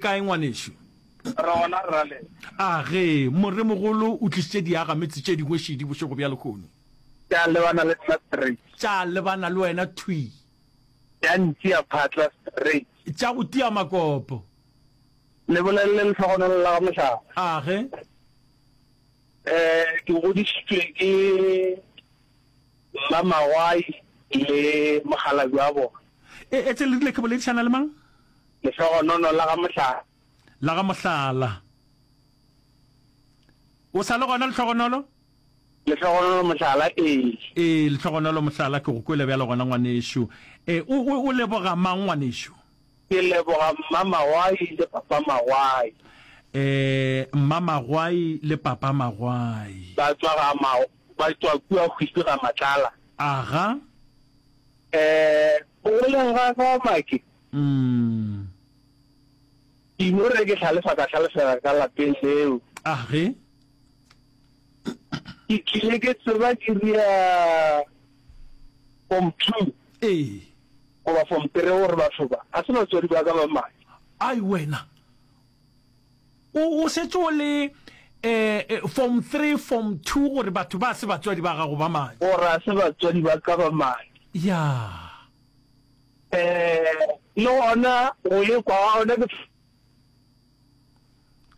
kae ngwanešu? Re gona rrale. A ge, moremogolo o tlišitše diagametse tše dingwe šidi bošego bja lehono. Tša lebana le nna straight. Tša lebana le wena thwi. Tša ntia phatla straight. Tša go tia makopo. Le bolelele lehlogonolo la ga Mohlaba. A ge. Eh, ke godišitšwe ke Mma Magwai le mokgalabje wa bona. E, etse le rile ke boledišana le mang? Lehlogonono la ga Mohlala. La ga Mohlala. O sa le gona Lehlogonolo? Lehlogonolo Mohlala, ee. Ee, Lehlogonolo Mohlala, ke go kwele bjalo gona ngwanešu. E, o, o, o leboga mang ngwanešu? Ke leboga Mma Magwai le Papa Magwai. Ee, Mma Magwai le Papa Magwai. Ba tšwa ga ma, ba tšwa kua Hwipi ga Matlala. Aga. Ee, go goleng ga ka Make. Mm. Ke ino re ke hlalefa ka hlalefela ka lapeng leo. Age. Ke tlile ke tseba ke ria form two. Ee. Goba form three gore batho ba ga se batswadi ba ka ba madi. Ai wena. O o šetše o le eh form three, form two gore batho ba se batswadi ba gago ba madi. Gore ga se batswadi ba ka ba madi. Ya. Eh le gona go ikwa ga gona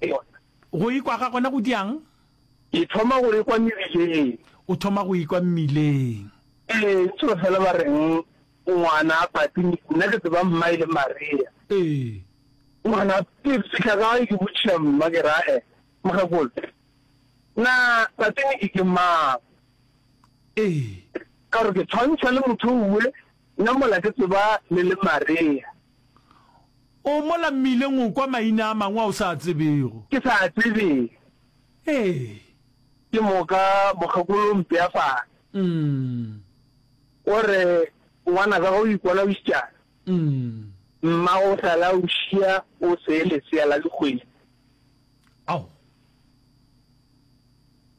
ke yona. Go ikwa ga gona go diang? Ke thoma go ikwa mebileng. O thoma go ikwa mmileng. Ee, ntse fela ba reng ngwana a pati, nna ke tseba mma e le Maria. Ee. Ngwana ke fihla gae ke botšiša mma ke re ae mokgekolo na Patiniki ke mang? Ee. Ka gore ke tshwantšha le motho owe nna mola ke tseba le le Maria. O mola mmileng o kwa maina a mangwe a o sa a tsebego. Ke sa a tsebeng. Ee. Ke moka mokgekolo o mpea fase. Mm. O re, Ngwanaka ge o ikona o išitšana, Mm. mmago o sale a o šia o se lesea la dikgwedi. Ao.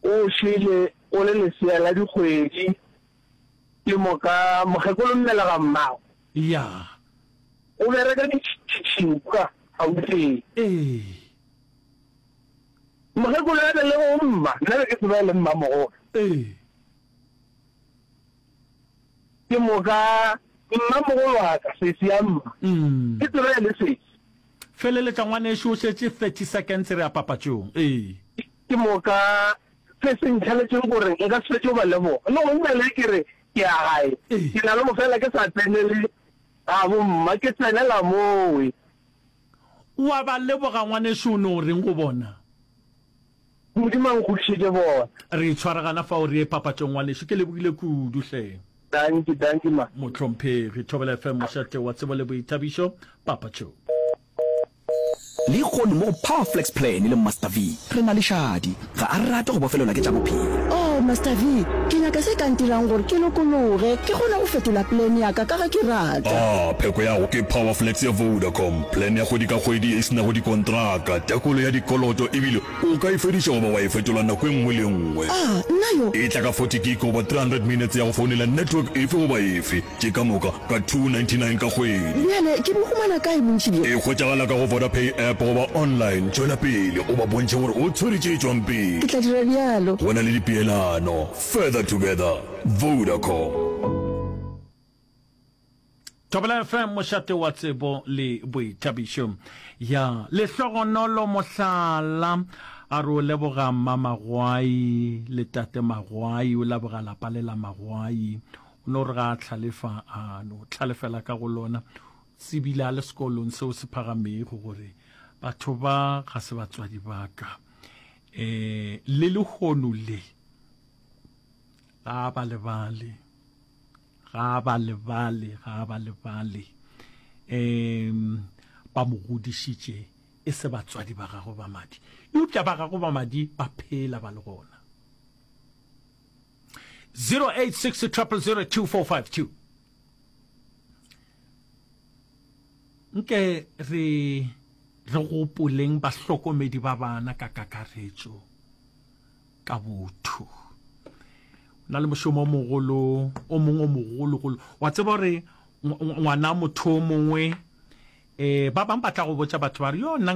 O šele o le lesea la dikgwedi. Ke moka mokgekolo mmelega mmago. Ya. O bereka ditšhitšhing kua Gauteng. Ee. Mokgekolo ya belego mma, nna be ke tseba e le mmamogolo. Ee. Ke moka mmamogolo wa ka, sesi ya mma, ke tseba e le sesi. Feleletša ngwanešu o šetše 30 seconds re ya papatšong. Ee. Ke moka se se ntšhaletšeng gore nka se fetše go ba leboga. Le gona bjale ke re ke ya gae, ke na le go fela ke sa tsenele ga bomma, ke tsenela mowe. O a ba leboga ngwanešu o no reng go bona? Modimo a nkgodišetše bona. Re tshwaragana fao re ye papatšong ngwanešu ke lebogile kudu hle. Dankie, dankie ma. Mohlomphegi, Thobela FM mošate wa tsebo le boithabišo, papatšong. Lehono mo go Power Flex Plan le Master V re na le Shadi. Ga a rate go bofelelwa ke tša bophelo. Oh, Master V, ke nyaka se ka ntirang gore ke lokologe, ke kgone go fetola plan ya ka ka ge ke rata. Ah, pheko ya go ke Power Flex ya Vodacom, plan ya kgwedi ka kgwedi ye e se nago dikontraka, tekolo ya dikoloto ebile o ka e fediša goba wa e fetola nako e nngwe le e nngwe. Ah, nna yo! E tla ka 40 gig goba 300 minutes ya go founela network efe goba efe. Tše ka moka ka 299 ka kgwedi. Bjale ke bo humana kae bontši bjo? E hwetšagala ka go Vodapay app goba online. Tšwela pele o ba bontšhe gore o tshwere tše tšwang pele. Ke tla dira bjalo. Go na le dipeelano. Further together. Vodacom. Thobela FM, mošate wa tsebo le boithabišo. Ya lehlogonolo mohlala a re o leboga mma Magwai le tate Magwai, o leboga lapa le la Magwai. O no re ga a hlalefa, a no hlalefela ka go lona. Tsebile a le sekolong seo se phagamego gore batho ba ga se batswadi ba ka. Um le lehono le ga a ba lebale, ga a ba lebale, ga a ba lebale. Um ba mo godišitše e se batswadi ba gagwe ba madi, eupša ba gagwe ba madi ba phela ba le gona. 086 0002452 Nke re re gopoleng bahlokomedi ba bana ka kakaretšo ka botho. O na le mošomo o mogolo o mongwe o mogologolo. Wa tseba gore ngwana motho o mongwe um ba bangwe ba tla go botša batho ba re yo nna.